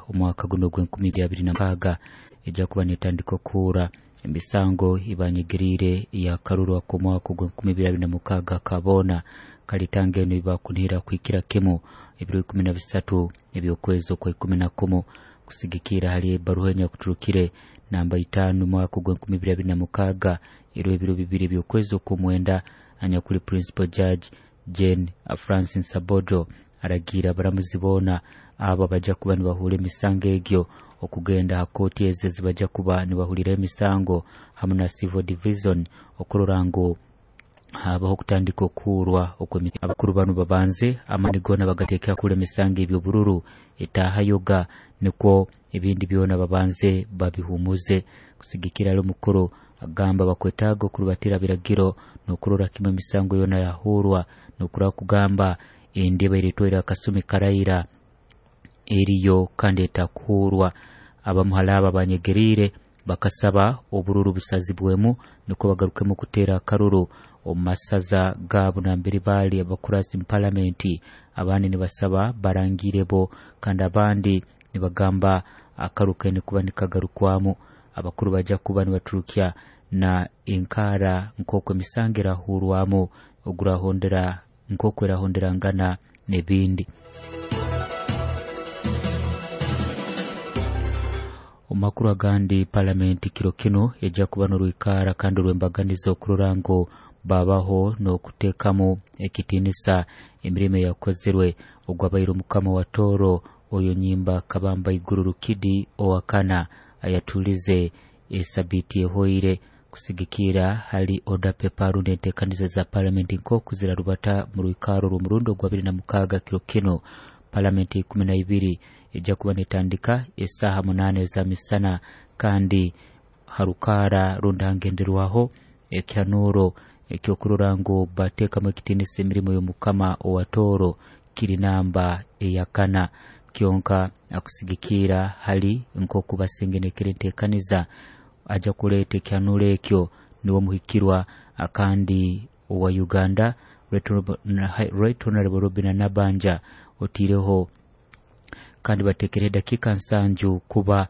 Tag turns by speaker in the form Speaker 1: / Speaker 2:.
Speaker 1: Omwaka guno ogw'e 2026 ejja kuba netandika okuhura emisango ibanyegeriire eyakaruru ak'omwaka ogw'e 2026 kaboona kalitanga eno ibakunihira kuhikira kimu ebiro 13 eby'okwezi okwa 11. Kusigikira hali ebaruha enyakuturukire namba 5 mwaka ogw'e 2026 eriho ebiro 2 eby'okwezi okw'omwenda, anyakuli Principal Judge Jane Francis Abodo aragiire abaramuzi boona abo abajja kuba nibahura emisango egyo okugenda ha kooti ezo ezibajja kuba nibahuliraho emisango hamu na Civil Division okurora ngu habaho okutandika okuhurwa. Abakuru banu babanze amaani goona bagateeke hakuhura emisango eby'obururu etahayoga, nikwo ebindi byona babanze babihumuze. Kusigikira hali omukuru, agamba bakwetaaga okurubatira biragiro n'okurora kimu emisango yoona yahurwa, n'okurora kugamba endi ebaire etwaire akasumi karaira eriyo kandi etakuhurwa. Abamu hali abo abanyegeriire bakasaba obururu busazibwemu nukwo bagarukemu kuteera akaruru omu masaza gaabo nambere baali abakurasi mu palamenti. Abandi nibasaba barangire bo, kandi abandi nibagamba akaru kaine kuba nikagarukwamu. Abakuru bajja kuba nibaturukya na enkaara nk'oku emisango erahurwamu ogurahondera nk'oku erahonderangana n'ebindi. Omu makuru agandi, palamenti kiro kinu ejja kuba n'orwikaara kandi orw'embaganiza okurora ngu babaho n'okuteekamu ekitiinisa emirimo eyakozerwe ogwabaire omukama wa Tooro Oyo Nyimba Kabamba Iguru Rukidi owakana ayatulize esabiiti ehoire. Kusigikira hali order paper rundi enteekaniza za palamenti nk'oku zirarubata mu rwikaaro rw'omurundi ogwa 26 kiro kinu, palamenti 12 ejja kuba netandika esaaha 8 eza misana, kandi harukaara rundi hangenderwaho ekihanuuro ekyokurora ngu bateekamu ekitiinisa emirimo y'omukama owa Tooro kiri namba eyakana kyonka. Akusigikiira hali nk'oku basengenekera enteekaniza, ajja kuleeta ekihanuuro ekyo niwe omuhikirwa akandi owa Uganda, Right Honorable Robinah Nabbanja otiireho, kandi bateekereho edakiika 70 kuba